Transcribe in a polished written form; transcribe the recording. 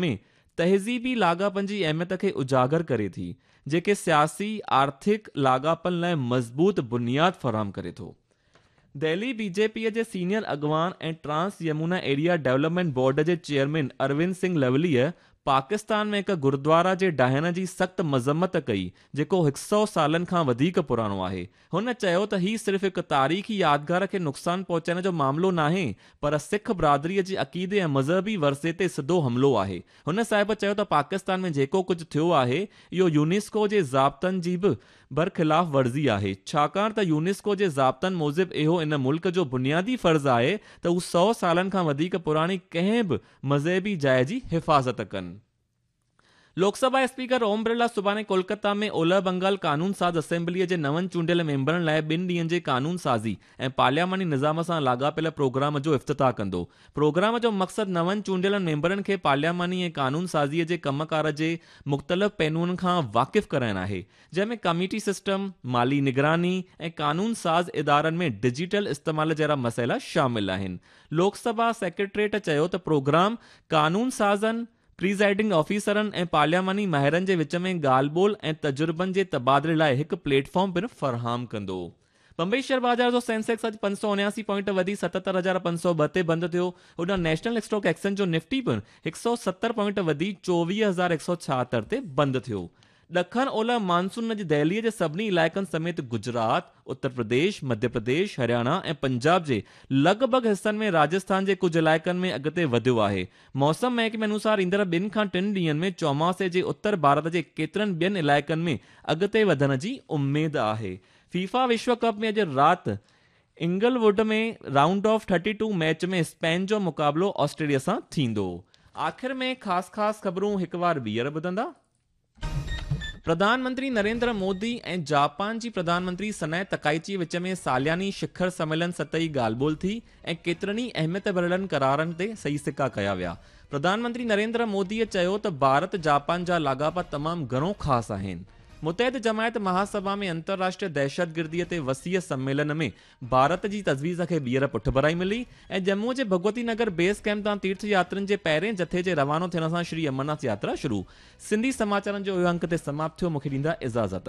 ۾ تهذيبي لاڳاپن جي اهميت کي اجاگر ڪري ٿي، جيڪي سياسي، آرٿڪ لاڳاپن لاء مضبوط بنياد فراهم ڪري ٿو. دهلي بي جي پي جي سينيئر اڳواڻ ۽ Trans Yamuna Area Development Board جي چيئرمين اروند سنگهه لوليء پاڪستان ۾ هڪ گردوارا جي ڊاهڻ جي سخت مذمت ڪئي، جيڪو هڪ سئو سالن کان وڌيڪ پراڻو آهي. هن چيو ته هي صرف هڪ تاريخي يادگار کي نقصان پهچائڻ جو معاملو ناهي پر سک برادري جي عقيدي ۽ مذهبي ورثي تي سڌو حملو آهي. هن صاحب چيو ته پاڪستان ۾ جيڪو ڪجهه ٿيو آهي اهو يونيسڪو جي ضابطن جي به برخلاف ورزي آهي ڇاڪاڻ ته يونيسڪو جي ضابطن موجب اهو ان ملڪ جو بنيادي فرض آهي ته هو سئو سالن کان وڌيڪ پراڻي ڪنهن به مذهبي جاء جي حفاظت ڪن. لوڪ سڀا اسپيڪر اوم برلا سڀاڻي ڪولڪتا ۾ اولهه بنگال قانون ساز اسيمبليء جي نون چونڊيل ميمبرن لاء ٻن ڏينهن جي قانون سازي ۽ پارلياماني نظام سان لاڳاپيل پروگرام جو افتتاح ڪندو. پروگرام جو مقصد نون چونڊيل ميمبرن کي پارلياماني ۽ قانون سازيء جي ڪم ڪار جي مختلف پهلوئن کان واقف ڪرائڻ آهي، جنهن ۾ ڪميٽي سسٽم، مالي نگراني ۽ قانون ساز ادارن ۾ ڊجيٽل استعمال جهڙا مسئلا شامل آهن. لوڪ سڀا سيڪريٽريٽ چيو ته پروگرام قانون سازن، پريزائيڊنگ آفيسرن ۽ پارلياماني ماهرن جي وچ ۾ ڳالهه ٻولهه ۽ تجربن جي تبادلي لاء هڪ پليٽ فارم پڻ فراهم ڪندو. بمبئي شيئر بازار جو سينسيڪس اڄ 579 پوائنٽ وڌي 77,502 تي بند ٿيو. هوڏانهن نيشنل اسٽاڪ ايڪسچينج جو نفٽي پڻ 170 پوائنٽ وڌي 24,176 تي بند ٿيو. ڏکڻ اولهه مانسون اڄ دهليء جي سڀني علائقن سميت گجرات، اتر پرديش، مڌيه پرديش، هرياڻا ۽ پنجاب جي لڳ ڀڳ حصن ۾ راجسٿان جي ڪجهه علائقن ۾ اڳتي وڌيو آهي. موسم محڪمي انوسار ايندڙ ٻن کان ٽن ڏينهن ۾ چوماسي جي اتر ڀارت جي ڪيترن ٻين علائقن ۾ اڳتي وڌڻ جي اميد آهي. فيفا وشو ڪپ ۾ اڄ رات Inglewood ۾ round of thirty two match ۾ Spain جو مقابلو آسٽريليا سان ٿيندو. آخر ۾ خاص خاص خبرون هڪ وار ٻيهر ٻڌندا. پرڌان منتري نريندر مودي ۽ جاپان جي پرڌان منتري سنائي تڪائيچي وچ ۾ سالياني شکر سميلن سطحي ڳالهه ٻولهه ٿي ۽ ڪيترن ئي اهميت ڀريلن قرارن تي صحيح سڪا ڪيا ويا. پرڌان منتري نريندر مودي چيو ته ڀارت جاپان جا لاڳاپا تمام گهڻو خاص آهن. متحد جماعت مهاسڀا ۾ انترراشٽريه دهشتگردي تي وسيع سميلن ۾ ڀارت جي تجويز کي ٻيهر پٺڀرائي ملي ۽ ڄمون جي ڀڳوتي نگر بيس ڪئمپ تان تيرٿ ياترين جي پهرين جٿي جي روانو ٿيڻ سان شري امرناٿ ياترا شروع. سنڌي سماچارن جو اهو انڪ تي سماپت ٿيو مونکي ڏيندا اجازت.